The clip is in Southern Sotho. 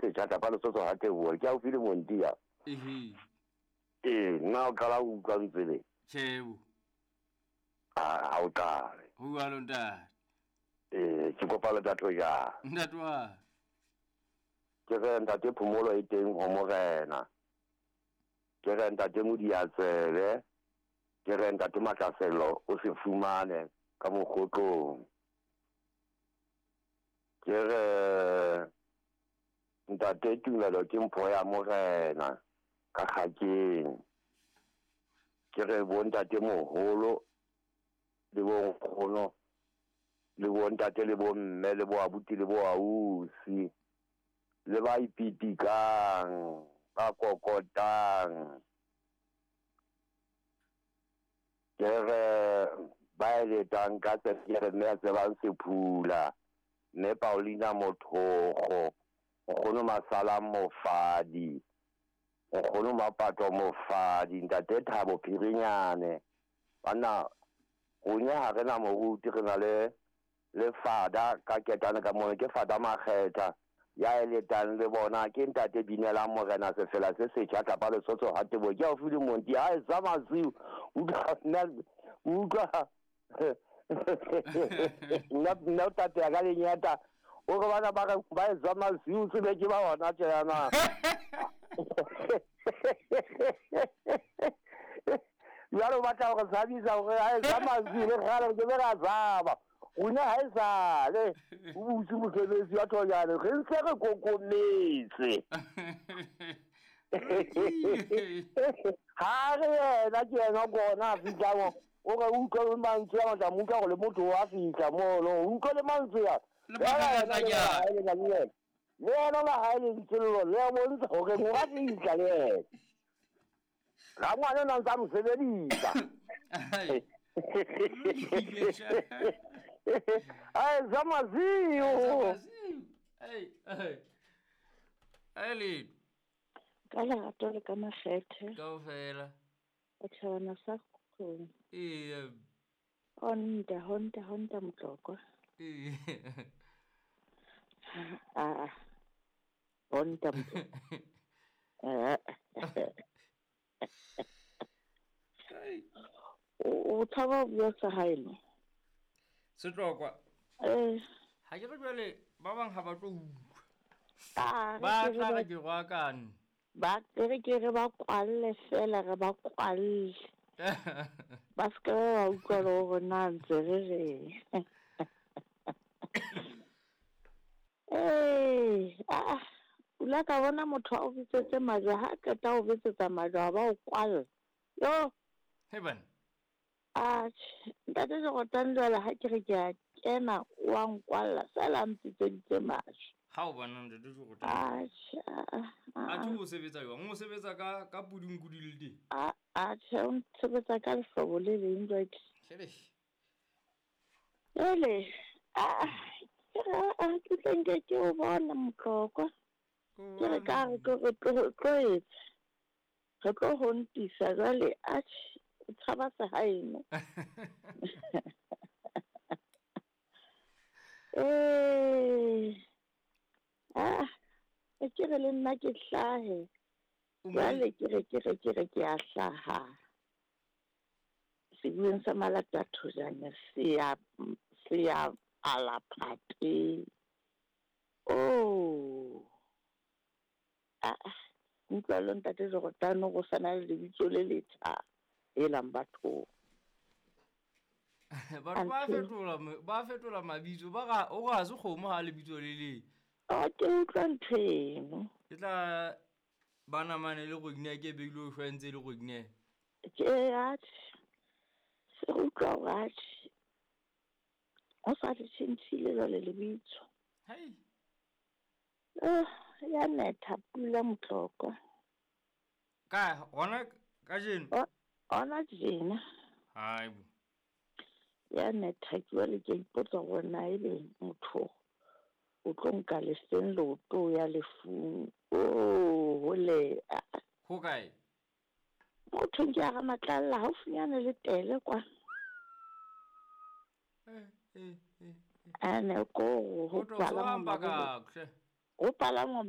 se setjha tlapa Lesotho ha teboho ke haufi le Montia. Ehe. Ee, nna o qala ho utlwa ntsebe. Tjhe bo. Ha o qale. Ho jwalo ntate. Ee, ke kopa le tatho ja. Ntate wa. Ke re ntate phomolo e teng ho morena. Ke re ntate Modiatsebe. Ke re ntate Matlaselo o se fumane ka mokgotlong. Ke re ntate Tumelo ke mpho ya morena ka kgakeng. Ke re bo ntate moholo le bo nkgono le bo ntate le bo mme le bo abuti le bo ausi le ba ipitikang ba kokotang. Ke re ba eletang ka tsebe, ke re mme a tsebang Sephula, mme Paulina Mothogo, nkgono Masalang Mofadi, nkgono Mapato Mofadi, ntate Thabo Phirinyane. Banna rona ha re na moruti, re na le le fada ka ketane ka mona, ke fada Makgetha ya eletang le bona, ke ntate Binelang morena sefela se setjha tlapa Lesotho ha tebo ke haufi le Monti. Ha e sa masiu utlwa nna utlwa nna o tateya ka lenyata o re bana ba re ba e sa masiu se be ke ba hona tjena. Jwale o batla hore tshabisa hore ha e sa masiu le kgale ke be ra tshaba. Rona ha e sale o butse mosebetsi wa thojane, re ntse re kokometse. Ha re yena ke yena kona a fihlang o re utlwe le mantswe a matla, mo utlwa hore le motho wa fihla mono, o utlwe le mantswe a. Le makgakatla ke a. Le yena la hae lentswe lelo le a bontsha hore mo a fihla le yena. Rangwane o na ntsa mo sebedisa. Ai, Zamazio. Ai, ai. Le. Ka lerato le ka makgethe. Kaofela. O tlhabana sa kgong. Ee. Honda, Honda, Honda Motlokwa. Ee. Ah. Honda Motlokwa. O tshaba ho bua sa hae no. Setlokwa. Eh. Ha ke re jwale ba bang ha ba tlo utlwa. Ah, Ba tla re ke roakane. Ba re ke re ba kwalle fela, re ba kwalle. Ba se ke ba utlwa le hore na ntse re reng. Eh, ah, o la ka bona motho a o bitsetse majwe, ha qeta ho bitsetsa majwe a ba o kwalla. Yo. He bana. Atjhe, ntate Jordan jwale ha ke re ke a kena o a nkwalla fela a mpitseditse majwe. Ha o bona ntate Jordan. Atjhe, A thi o sebetsa jwang? O sebetsa ka pudunku di le teng? Atjhe, o ntshebetsa ka lehlobo le leng jwale. Hlele. Jwale, ke re ke tla nke ke o bona Motlokwa. Ke re ka re re tlo etsa. Re tlo ho ntisa jwale, atjhe, o tshaba sehaeno. Eh. Ah, ke re le nna ke hlahe. Jwale ke re ke a hlaha. Sebueng sa Malata Thojane se ya ala phate. Oh. Ah, utlwa le ntate Jordan go sana le lebitso le letjha e lang batho. Batho ba fetola mabitso ba ga o ga se kgomo ha lebitso le le. A ke utlwa ntho eno. Ke tla bana mane le go gine ke beile o shwantse le go gine. Ke atjhe. Se utlwa hore atjhe. O sa le tjhentjhile jwale lebitso. Hei. Ya netha pula Motlokwa. Ka hona kajeno? Hona tjena. Hai bo. Ya netha ke jwale ke ipotsa hore na ebe motho o tlo nka lefeng leoto ya lefung. Oh, hole. Ho kae? Motho ke a Ramatlalla haufinyane le Tele kwa. Ane ko ho palama. Ho palama.